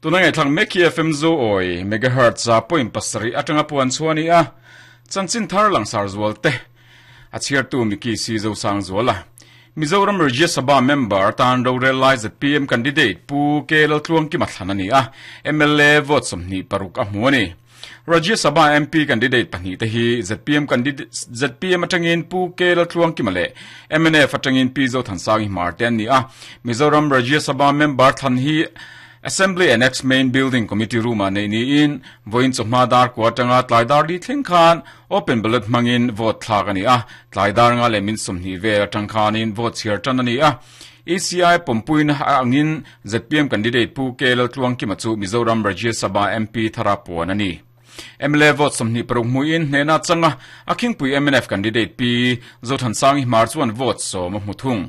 Tuna ngaihthlak mek hi FM Zoawi megahertz a point pasarih atanga puan chhuah a ni a, chanchin thar langsar zual te a chhiartu Mickey C Zosangzuala. Mizoram Rajya Sabha member atan rorel lai zpm candidate Pu K Laltluangkima thlan a ni a, mla vote 26 a hmu a ni. Rajya Sabha MP candidate pahnih te hi zpm candidate zpm atangin Pu K Laltluangkima leh mnf atangin Pi Zothansangi Hmar te an ni a. Mizoram Rajya Sabha member thlan hi Assembly Annex Main Building Committee Room ah neih niin vawiin chawhma dar kua atanga tlai dar li thleng khan open ballot hmangin vote thlak a ni a. Tlai dar nga leh min 20 vel atang khanin vote chhiar tan a ni a. ECI pawmpuina angin zpm candidate Pu K Laltluangkima chu Mizoram Rajya Sabha MP thara puan a ni. Mla vote 26 hmuin hnehna changa a khingpui mnf candidate Pi Zothansangi Hmar chuan vote 10 a hmu thung.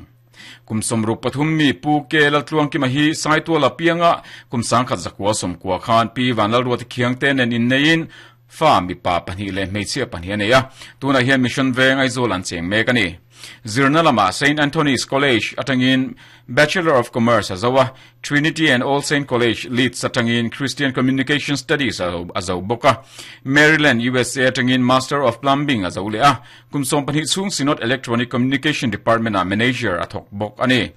Kum 63 mi Pu K Laltluangkima hi Saituala pianga kum 1990 khan Pi Vanlalruati Khiangte nen inneiin fa mipa pahnih leh hmeichhia pahnih a nei a, tunah hian Mission Veng Aizawl an cheng mek a ni. Zirna lamah Saint Anthony's College atangin Bachelor of Commerce a zo a, Trinity and All Saint College, Leeds atangin Christian Communication Studies a zo bawk a, Maryland, USA atangin Master of Plumbing a zo leh a, kum 12 chhung Synod Electronic Communication Department-ah Manager a thawk bawk a ni.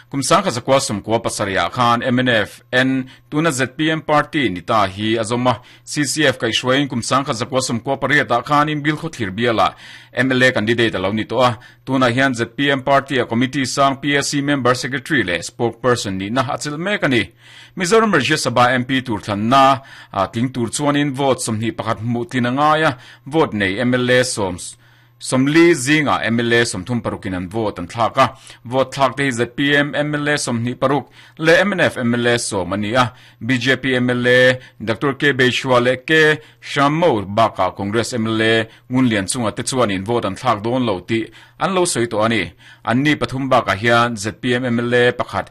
Kum 1997 ah khan mnf N tuna zpm party ni ta hi a zawm a, CCF kaihhruaiin kum 1998 ah khan Imbil khawthlir bialah mla candidate a lo ni tawh a, tunah hian zpm party-a committee sang PAC member secretary leh spokesperson nihna a chelh mek a ni. Mizoram Rajya Sabha MP tur thlanna tling tur chuanin vote 21 hmuh tlin a ngai a, vote nei mla sawm 40 zingah mla 36 in an vote an thlak a, vote thlak te hi zpm mla 26 leh mnf mla 10 a ni a, bjp mla Doctor K Beishua leh K Shammo bakah Congress mla Ngunlian chunga te chuanin vote an thlak dawn lo tih an lo sawi tawh a ni. Anni pathum bakah hian zpm mla pakhat.